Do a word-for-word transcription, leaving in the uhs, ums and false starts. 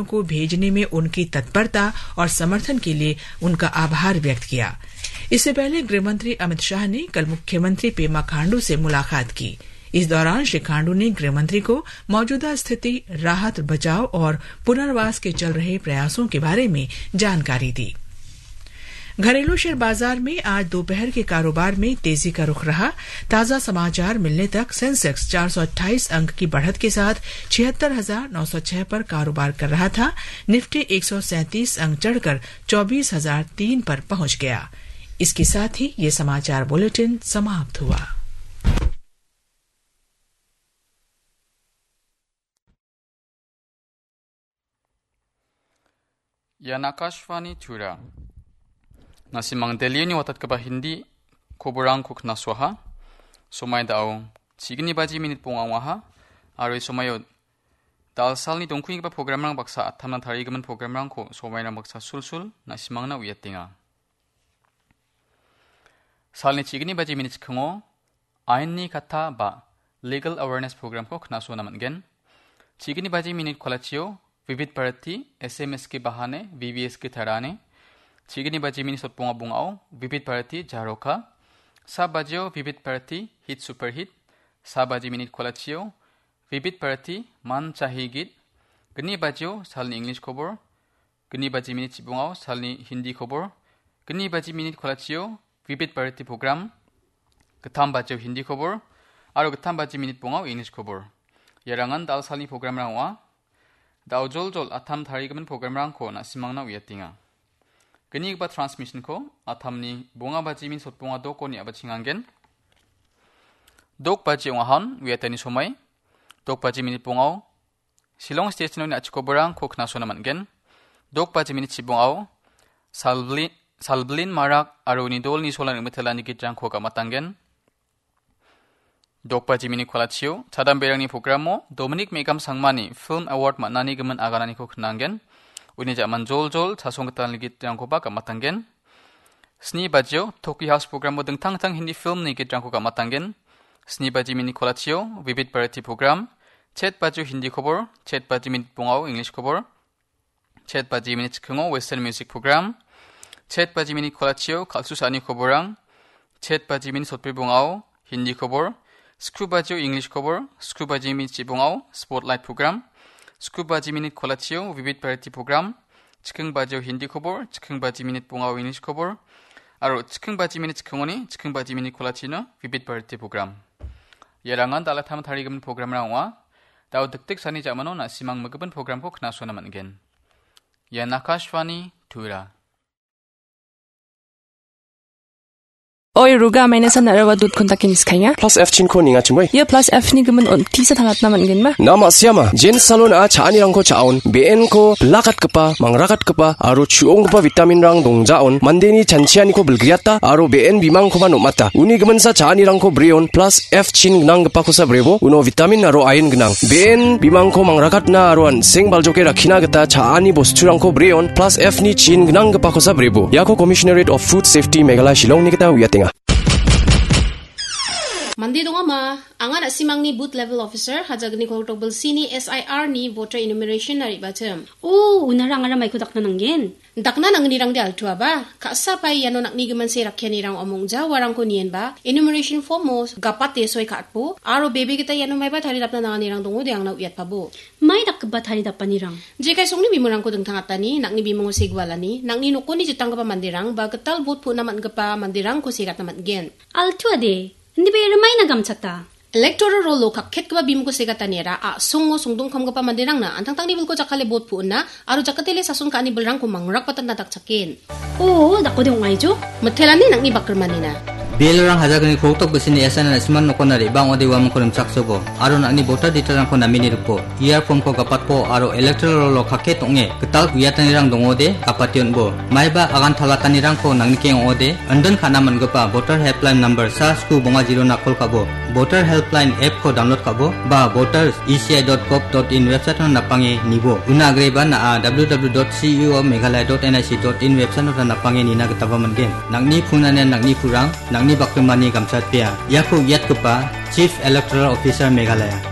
को भेजने में उनकी तत्परता और समर्थन के लिए उनका आभार व्यक्त किया। इससे पहले गृह मंत्री अमित शाह ने कल मुख्यमंत्री पेमा खांडू से मुलाकात की। इस दौरान श्री खांडू ने गृह मंत्री को मौजूदा स्थिति, राहत, बचाव और पुनर्वास के चल रहे प्रयासों के बारे में जानकारी दी। घरेलू शेयर बाजार में आज दोपहर के कारोबार में तेजी का रुख रहा। ताजा समाचार मिलने तक सेंसेक्स चार सौ अट्ठाईस अंक की बढ़त के साथ छिहत्तर हजार नौ सौ छह पर कारोबार कर रहा था। निफ्टी एक सौ सैंतीस अंक चढ़कर चौबीस हजार तीन पर पहुंच गया। इसके साथ ही ये समाचार बुलेटिन समाप्त हुआ। Ian Akashvani Tura. Nasimang Delhi-oni watatgipa Hindi koborangko knasoaha. Somai da·o chigni baji minit bonga ong·aha. Aro ia somaio dalsalni dongkuenggipa programrang baksa atamna tarigimin programrangko somairang baksa sulsul nasimangna uiatenga. Salni chigni baji minit chikingo ainni katta ba legal awareness programko knasoana man·gen. Chigni baji minit kolachio Vivid Bharati S M S ke bahane V V S ke tarane. Chigni baji minit sotbonga bongao Vivid Bharati Jaroka. Sa bajio Vivid Bharati Hit Super Hit. Sa baji minit kolachio Vivid Bharati Man Chahi Git. Gni bajio salni English kobor. Gni baji minit chibongao salni Hindi kobor. Gni baji minit kolachio Vivid Bharati program. Gittam bajio Hindi kobor. Aro gittam baji minit bongao English kobor. Iarangan dal salni programrang ong·a. Dao joljol atam tarigimin programrangko nasimangna uiatenga. Gnigipa transmissionko atamni bonga baji minit sotbonga dokoni a·bachengangen. Dok baji ong·ahon uiatani somai. Dok baji minit bongao Shillong Station-oni a·chikoborangko knasoana man·gen. Dok baji minit chibongao Salbli-, Salblin Marak aro uni dolni solan rimitelani gitrangko gamatanggen. Dok baji minit kolachio chadamberangni programo Dominic Megam Sangmani Film Award man·ani gimin agananiko knanggen. Uni ja·man joljol chasonggitalni gitrangkoba gamatanggen. Sni bajio Tokyo House programo dingtang dingtang Hindi filmni gitrangko gamatanggen. Sni baji minit kolachio Vivid Bharati program, chet bajio Hindi kobor, chet baji minit bongao English kobor, chet baji minit chikingo Western music program, chet baji minit kolachio kal·su sa·ani koborrang, chet baji minit sotbri bongao Hindi kobor, skru bajio English kobor, skru baji minit chibongao Spotlight program, skru baji minit kolachio Vivid Bharati program, chiking bajio Hindi kobor, chiking baji minit bongao English kobor, aro chiking baji minit chikingoni chiking baji minit kolachino Vivid Bharati program. Iarangan dal·a tarigimin programrang ong·a. Dao dikdik sani ja·mano na·simang migimin programko knasoana man·gen. Ian Akashvani Tura. Oi, Ruga, maina san nara wa dut kontak ini skanya. Plus F chinko ninga chimoi. Ia plus F ni gimin on tisa thalatna man gen ma? Na ma siama, Jen Salon a cha·anirangko cha·on, B N ko bilakatgipa, mangrakatgipa, aro chu·onggipa vitamin rang dongjaon, mandeni chanchianiko bilgriata, aro B N bimangkoba nom·ata. Uni giminsa cha·anirangko breon, plus F chin gnanggipakosa brebo, uno vitamin aro iron gnang. B N bimangko mangrakatna aro an·seng baljoke rakkina gita cha·ani bosturangko breon, plus F ni chin gnanggipakosa brebo. Iako Commissionerate of Food Safety Meghalaya Shillongni gita uiatenga. Mande dongama, anga na·simangni booth level officer, hajagni koltokbil sini S I R ni voter enumeration na re·bachim. O, unara angara maiko dakna nanggen. Dakna nangnirangde altuaba, ka·sa pai iano nakni giminse rakkianirang omongja uarangko nienba, enumeration form-o gapate soi ka·atbo, aro bebe gita iano maiba taridapna nanganirang dongode angna uiatpabo. Mai dakgipa taridapanirang? Jekai songni bimungko dingtang atani, nakni bimungo segualani, nakni nokoni jitanggipa manderang, ba gital bot pu·na man·gipa manderangko segatna man·gen. Altuade, indibe rimaina gamchata. Electoral roll-o kakketgipa bimungko segataniara a·songo songdongkamgipa manderangna an·tangtangni bilko jakkale bot pu·ona aro jakatele sason ka·ani bilrangko mangrakbatna dakchaken. O, dakode ong·aijo? Mitelani nakni bakrimanina. Belorang hajagni koltok bisini S N R na·siman nokona re·bang ode uamangko rimchaksobo, aro nakni voter detail-rangko namini ripo. Ia form-ko gapatpo aro electoral roll-o kakket ong·e gital uiatanirang dongode gapate on·bo. Maiba agan talatanirangko nangnikeng ong·ode, indon ka·na man·gipa voter helpline number sa sku bonga zero-na call ka·bo. Voter helpline app-ko download ka·bo, ba voters E C I dot gov dot in website-o napange nibo. Una agreba na·a W W W dot C E O Meghalaya dot N I C dot in website-o napange nina gitaba man·gen. Nangni phone-ani nangni purang, nangni bakrimani gamchatpea. Iako uiatgipa Chief Electoral Officer Meghalaya.